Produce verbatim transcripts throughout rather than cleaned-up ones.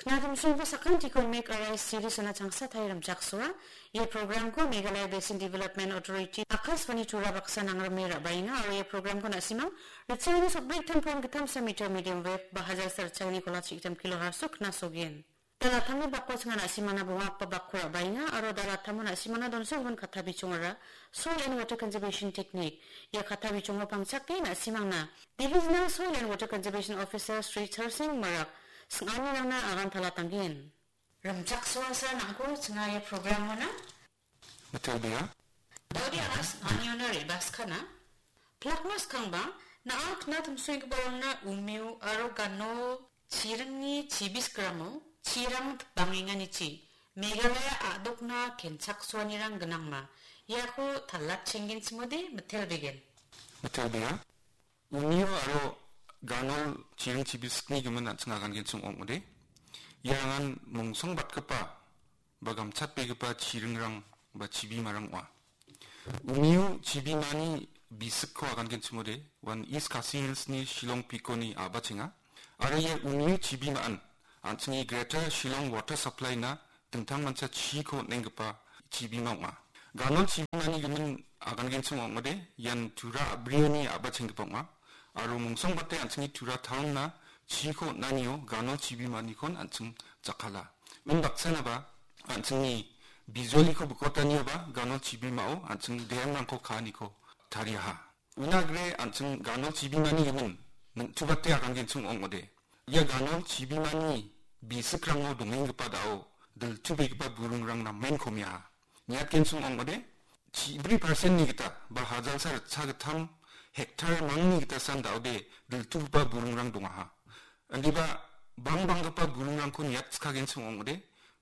Natumsongko sakantiko Make a Rice series-ona changsa tarie rimchaksoa. Ia programko Meghalaya Basin Development Authority, Akashvani Tura baksa nangrime ra·baenga aro ia programko na·simang ritchagni sotbrik tam point gittam sa meter medium wave ba hajar sa ritchagni kola chigittam kilohertz-o knasogen. Dal attamni bako chinga na·simana bonga akba bakko ra·baenga aro dal attamo na·simana donso gimin katta bichongara Soil and Water Conservation Technique. Ia katta bichongo pangchake na·simangna Divisional Soil and Water Conservation Officer Shri Charsing Marak sing·anirangna agan talatanggen. Rimchaksoasa nangko chinga ia programona. Matilda. Daudi agas angiona rebas kana. Plakmas kangba, na·a kna timsoenggiparangna umeo aro gano chiringni chibisgramo chirang tipangenganichi Meghalaya a·dokna kenchaksoanirang gnangma. Iako talatchenggenchimode mitelbegen. Matilda. Unio aro ganol chiring chibisni gimin an·ching agangenchim ong·ode. Iarangan mongsongbatgipa ba gamchatbegipa chiringrang ba chibimarang ong·a. Unio chibimani bisikko agangenchimode, uan East Khasi Hillsni Shillong Peak-oni a·bachenga. Aro ia unio chibimaan an·chingni Greater Shillong Water Supply-na dingtang mancha chiko on·enggipa chibima ong·a. Ganol chibimani gimin agangenchim ong·ode, ian Tura a·brioni a·bachenggipa ong·a. Aro mongsongbate an·chingni Tura town-na chiko on·anio ganol chibimanikkon an·ching jakkala. Undaksanaba an·chingni bijoliko bikotanioba ganol chibimao an·ching dam-rangko ka·aniko tariaha. Unagre an·ching ganol chibimani gimin ningtubate agangenchim ong·ode. Ia ganol chibimani bisikrango dongenggipa da·o diltubegipa burungrang namen komeaha. Niatgenchim ong·ode, chibri percent-ni gita ba hajalsa ritchagittam hektar mangni gitasan da·ode diltugipa burungrang dongaha. Indiba bangbanggipa burungrangko niatskagenchim ong·ode,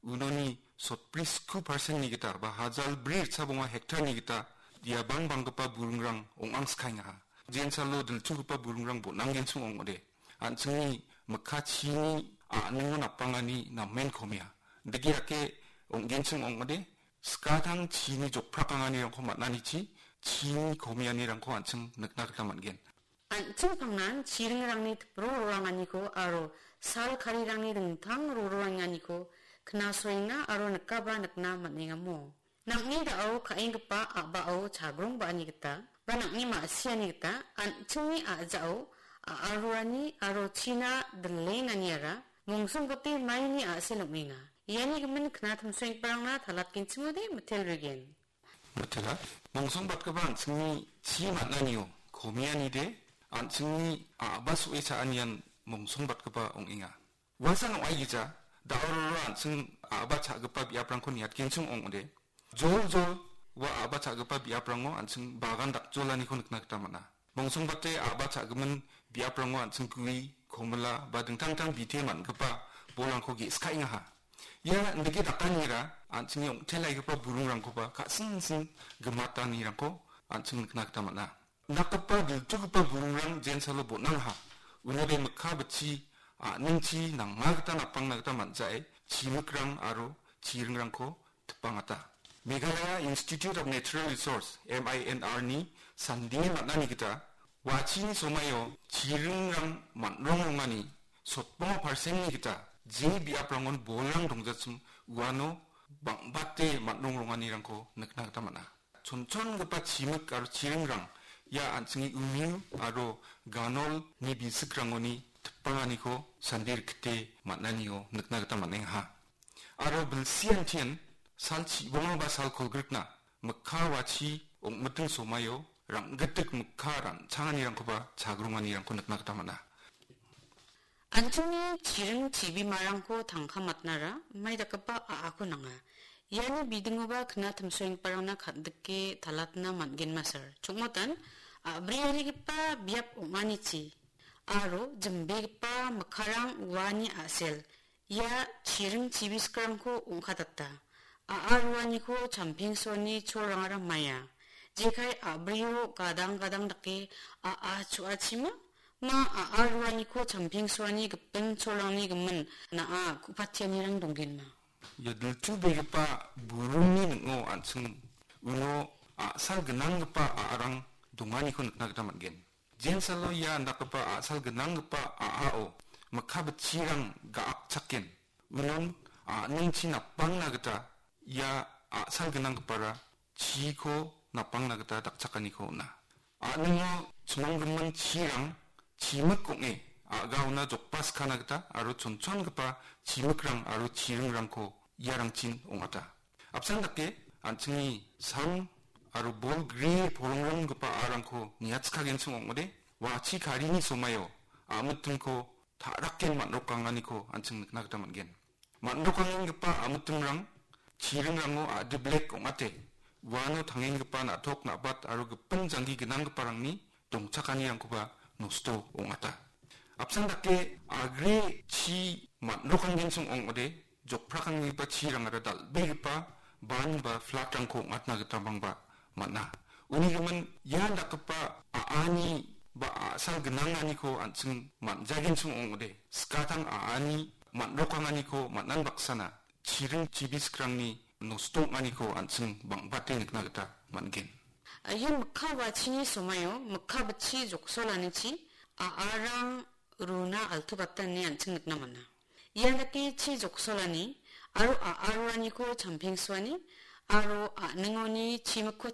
unoni sotbri sku percent-ni gita ba hajal bri ritchabonga hektar-ni gita ia bangbanggipa burungrang ong·angskaengaha. Jensalo diltugipa burungrang bon·anggenchim ong·ode. An·chingni mikka chini a·ningo napangani namen komea. Digi ake ong·genchim ong·ode, skatang chini jokprakanganirangko man·anichi chini komeanirangko an·ching nikna gita man·gen. An·ching pangnan chiringrangni tipro roanganiko aro sal karirangni dingtang roroanganiko knasoenga aro nikaba nikna man·engamo. Nang·ni da·o ka·enggipa a·bao chagrong ba·ani gita ba nang·ni ma·siani gita an·chingni a·jao a·aroani aro china dilenganiara mongsongbote maini a·sel ong·enga. Iani gimin kna timsoenggiparangna talatgenchimode mitel regen. Mitela, mongsongbatgipa an·chingni chi man·anio komeanide an·chingni a·ba so·e cha·anian mongsongbatgipa ong·enga. Uasan ong·aigija, da·o roro an·ching a·ba cha·gipa biaprangko niatgenchim ong·ode. Joljol ua a·ba cha·gipa biaprango an·ching bagan dakjolaniko nikna gita man·a. Mongsongbate a·ba cha·gimin biaprango an·ching gue, komila ba dingtang dingtang bite man·gipa bolrangko ge·skaengaha. Ia indike dakanira an·chingni ong·telaigipa burungrangkoba ka·sing sing gimatanirangko an·ching nikna gita man·a. Nakgipa diltugipa burungrang jensalo bon·angha. Unabe mikka bitchi a·ningchi nangna gita napangna gita man·jae chimikrang aro chiringrangko tipangata. Meghalaya Institute of Natural Resource, M I N R ni sandie man·ani gita, wachini somaio chiringrang man·rongrongani sotbonga percent-ni gita je biaprangon bolrang dongjachim uano bang·bate man·rongrongani rangko nikna gita man·a. Chonchongipa chimik aro chiringrang ia an·chingni umiu aro ganolni bisikrangoni tipanganiko sandi rikite man·anio nikna gita man·engaha. Aro bilsiantian sal chibonga ba sal kolgrikna mikka wachi ong·miting somaio rang·gitik mikka ran·changanirangkoba chagronganirangko nikna gita man·a. An·chingni chiring chibimarangko tangka matnara mai dakgipa a·ako nanga. Iani bidingoba kna timsoenggiparangna kan·dike talatna man·genmasar. Chongmotan, a·briarigipa biap ong·anichi aro jimbegipa mikkarang uani a·sel. Ia chiring chibiskirangko ong·katata. A·a ruaniko champengsoani cholrangara maia. Jekai a·brio gadang gadang dake a·a chu·achima? Ma a·a ruaniko champengsoani gipin cholrangni gimin na·a ku·patianirang donggenma. Ia diltubegipa buringni ning·o an·ching uno a·sal gnanggipa a·arang donganiko nikna gita man·gen. Jensalo ia indakgipa a·sal gnanggipa a·ao mikka bitchirang ga·akchaken. Unon a·ningchi napangna gita ia a·sal gnanggipara chiko napangna gita dakchakaniko on·a. A·ningo chimonggimin chirang chimik ong·e a·gaona jokbaskana gita aro chonchongipa chimikrang aro chiringrangko iarangchin ong·ata. Apsan dake an·chingni sam aro bol gri porongronggipa a·arangko niatskagenchim ong·ode, wachi karini somaio a·mitingko ta·raken man·rokanganiko an·ching nikna gita man·gen. Man·rokangenggipa a·mitingrang chiringrango a·diblek ong·ate, uano tangenggipa na·tok na·bat aro gipin janggi gnanggiparangni dongchakanirangkoba nosto ong·ata. Apsan dake agre chi man·rokanggenchim ong·ode, jokprakanggipa chirangara dal·begipa ban ba flatrangko ong·atna gita bangba man·a. Uni gimin ian dakgipa a·ani ba a·sal gnanganiko an·ching man·jagenchim ong·ode, skatang a·ani man·rokanganiko man·an baksana chiring chibiskrangni nosto ong·aniko an·ching bang·bate nikna gita man·gen. Ia mikka wachini somaio mikka bitchi joksolanichi a·arang runa altubatani an·ching nikna man·a. Ia dake chi joksolani aro a·aroraniko champengsoani aro a·ningoni chimikko